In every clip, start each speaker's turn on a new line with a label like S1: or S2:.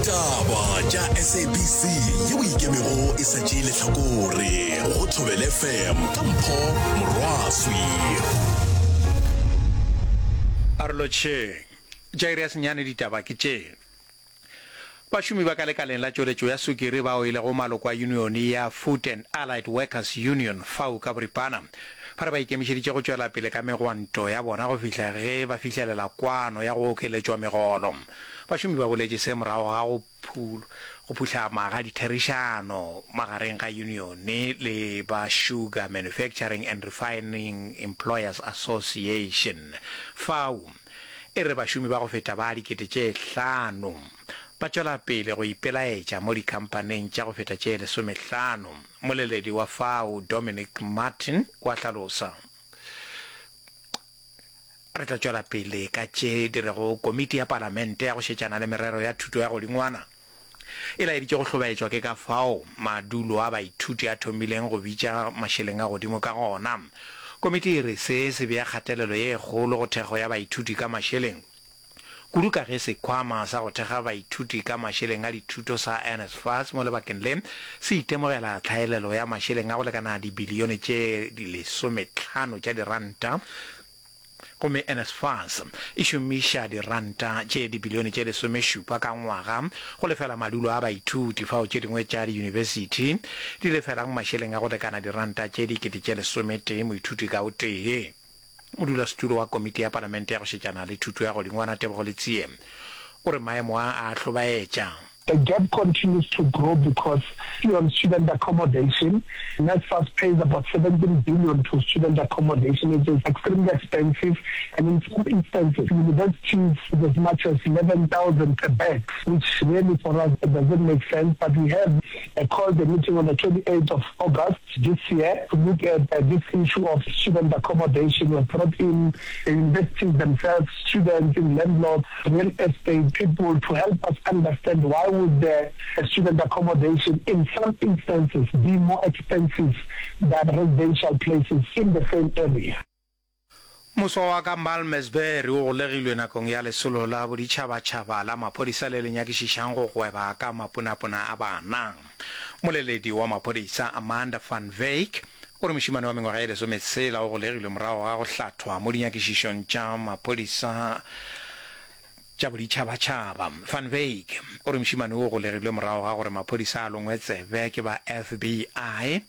S1: Ditaba tša SABC yeo e ikemego e sa tšee lehlakore go Thobela FM ka Mpho Morwaswi.
S2: A re lotšheng. Tša iri ya senyane ditaba ke tše. Bašomi ba ka lekaleng la tšweletšo ya sukiri bao e lego maloko a yunione ya Food and Allied Workers Union, FAWU ka boripana, ba re ba ikemišeditše go tšwela pele ka megwanto ya bona go fihla ge ba fihlelela kwano ya go okeletšwa megolo. Bašomi ba boletše se morago ga go go phuhlama ga ditherišano magareng ga yunione le ba Sugar Manufacturing and Refining Employers Association, FAWU. E re bašomi ba go feta ba 5000 ba tšwela pele go ipelaetša mo dikhamphaneng tša go feta tše lesomehlano. Moleledi wa fao Dominic Martin wa hlalosa, Re tla tšwela pele ka tše di rego Komiti ya Palamente ya go šetšana le merero ya thuto ya godingwana e laeditše go hlobaetšwa ke ka fao madulo a baithuti a thomileng go bitša mašeleng a godimo ka gona. Komiti e re se se bea kgatelelo ye kgolo go thekgo ya baithuti ka mašeleng, kudu ka ge sekhwama sa go thekga baithuti ka mašeleng a dithuto sa NSFAS mo lebakeng le se itemogela tlhaelelo ya mašeleng a go lekana dibilione tše lesometlhano tša diranta Gomme NSFAS e šomiša diranta tše dibilione tše lesomešupa ka ngwaga go lefela madulo a baithuti, fao tše dingwe tša diyunibesithi di lefelang mašeleng a go lekana diranta tše dikete tše lesometee moithuti ka o tee. Modulasetulo wa Komiti ya Palamente ya go šetšana le Thuto ya Godingwana Tebogo Letsie o re maemo a a hlobaetša.
S3: The gap continues to grow because on student accommodation, NSFAS pays about 17 billion to student accommodation, which is extremely expensive, and in some instances, universities as much as 11,000 per bed, which really for us doesn't make sense. But we have called a meeting on the 28th of August this year to look at this issue of student accommodation. We have brought in the universities themselves, students, and landlords, real estate people to help us understand why would the student accommodation in some instances be more expensive than residential places in the same area.
S2: Moswa wa ka Malmesbury o golegilwe nakong ya lesolo la boditšhabatšhaba la maphodisa le le nyakišišang go gweba ka mapunapuna a bana. Moleledi wa maphodisa Amanda van Wyk o re mošemane wa mengwaga ye lesometshela o golegilwe morago ga go hlathwa mo dinyakišišong tša maphodisa tša boditšhabatšhaba. Van Wyk o re mošemane o golegilwe morago ga gore maphodisa a longwe tsebe ke ba FBI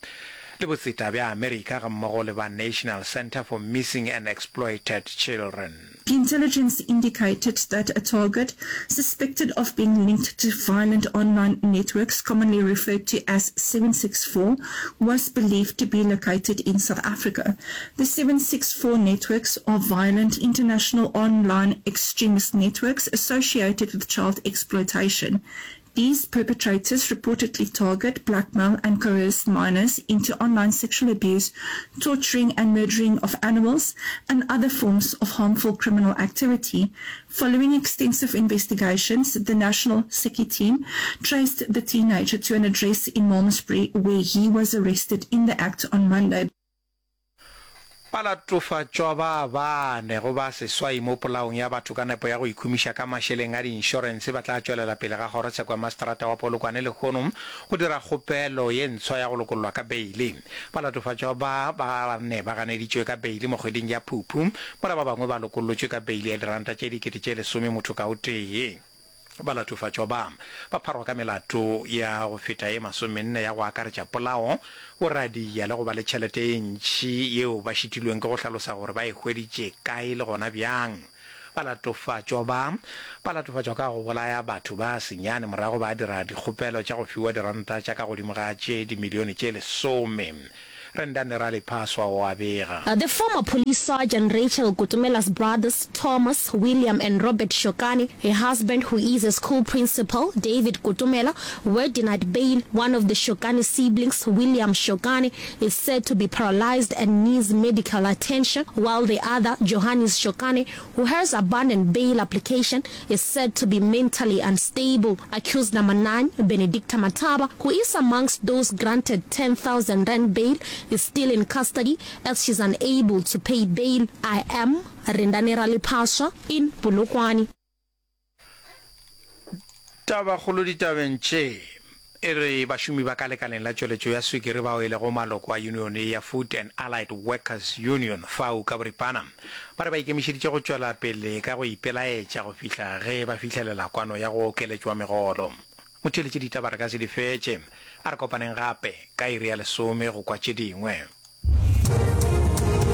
S2: le botseta bja Amerika gammogo le ba National Center for Missing and Exploited Children.
S4: Intelligence indicated that a target suspected of being linked to violent online networks commonly referred to as 764 was believed to be located in South Africa. The 764 networks are violent international online extremist networks associated with child exploitation. These perpetrators reportedly target, blackmail and coerce minors into online sexual abuse, torturing and murdering of animals, and other forms of harmful criminal activity. Following extensive investigations, the National SECI team traced the teenager to an address in Malmesbury where he was arrested in the act on Monday.
S2: Balatofatšwa ba bane go ba seswai mo polaong ya batho ka nepo ya go ikhumiša ka mašeleng a diinšorense ba tla tšwelela pele ga kgorotsheko ya maseterata wa Polokwane lehono go dira kgopelo ye ntshwa ya go lokollwa ka beile. Balatofatšwa ba ba bane ba ganeditšwe ka beile mo kgweding ya Phuphu, mola ba bangwe ba lokollotšwe ka beile ya diranta tše 10,000 motho ka o tee. Balatofatšwa ba, ba pharwa ka melato ya go feta ye masomenne ya go akaretša polao, boradia le go ba le tšhelete ye ntši yeo ba šitilweng ke go hlalosa gore ba e hweditše kae le gona bjang. Balatofatšwa ba, ba latofatšwa ka go bolaya batho ba senyane morago ba dira dikgopelo tša go fiwa diranta tša ka godimo ga tše dimilione tše lesome. Rendani Ralephaswa o a bega.
S5: The former police sergeant Rachel Kutumela's brothers, Thomas, William and Robert Shokane, her husband who is a school principal, David Kutumela, were denied bail. One of the Shokane siblings, William Shokane, is said to be paralyzed and needs medical attention, while the other, Johannes Shokane, who has abandoned bail application, is said to be mentally unstable. Accused number 9, Benedicta Mataba, who is amongst those granted 10,000 rand bail, is still in custody as she's unable to pay bail. I am Rendani Ralephaswa in Polokwane.
S2: Tabakgolo ditabeng tše e re bašomi ba ka lekaleng la tšweletšo ya swikiri bao e lego maloko a yunione ya Food and Allied Workers Union, FAWU ka boripana, ba re ba ikemišeditše go tšwela pele ka go ipelaetša go fihla ge ba fihlelela kwano ya go okeletšwa megolo. Motheeletši ditaba re ka se di fetše. A re kopaneng gape ka iri ya lesome go kwa tše dingwe.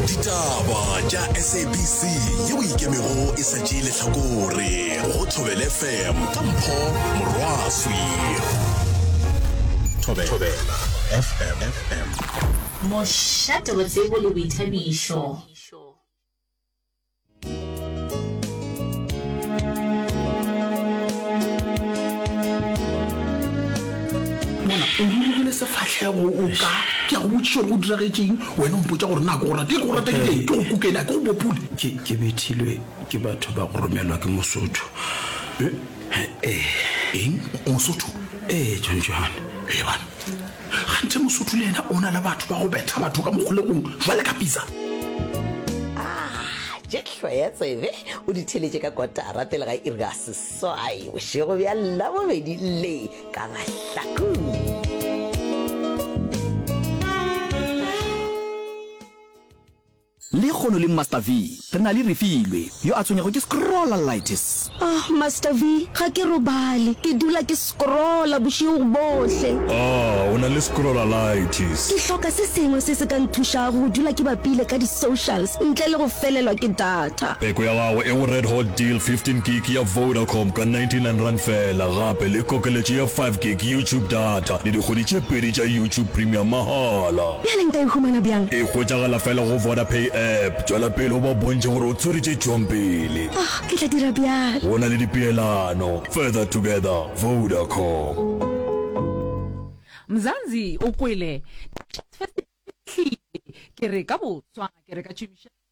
S1: Ditaba tša SABC yeo e ikemego e sa tšee lehlakore go Thobela FM ka Mpho Morwaswi. Thobela FM.
S6: Mošate wa tsebo le boithabišo.
S7: Mona o rurugile sefahlego o ka ke a go botšiša gore go diragetšeng wena o mpotša gore na ke go rata ke go rata ke ke go kukele a ke go bopole
S8: Ke ke bethilwe ke batho ba go romelwa ke Mosotho.
S7: Ee. Eng? Mosotho?
S8: Ee, John John.
S7: Ee bana. Kganthe Mosotho le yena o na le batho ba go betha batho ka mokgolegong jwale ka pitsa?
S9: Ah, tše hloya tsebe o di theletše ka kotara pele ga iri ya seswai bošego bja Labobedi le ka Mahlakung.
S10: Lekgono le Master V, re na le Refilwe, yo a tshwenyago ke scrollalitis.
S5: Ah, Master V, ga ke robale. Ke dula ke scrolla bošego bohle.
S11: Ah, o na le scrollalitis.
S5: Ke hloka se sengwe se se ka nthušago go dula ke bapile ka di-socials ntle le go felelwa ke data.
S11: Peko ya gago e go Red Hot Deal 15 gig ya Vodacom ka R99 feela, gape le kokeletšo ya 5 gig YouTube data le dikgwedi tše pedi tša YouTube Premium mahala.
S5: Bjale nka e humana bjang?
S11: E hwetšagala fela go Vodapay app. Tšwela pele o ba bontšhe gore o tshwere tše tšwang pele.
S5: Oh, ke tla dira bjalo.
S11: Go na le dipeelano. Further together, Vodacom.
S12: Mzansi o kwele Fest e fihlile, ke re ka boswa, ke re ka tšhomišano.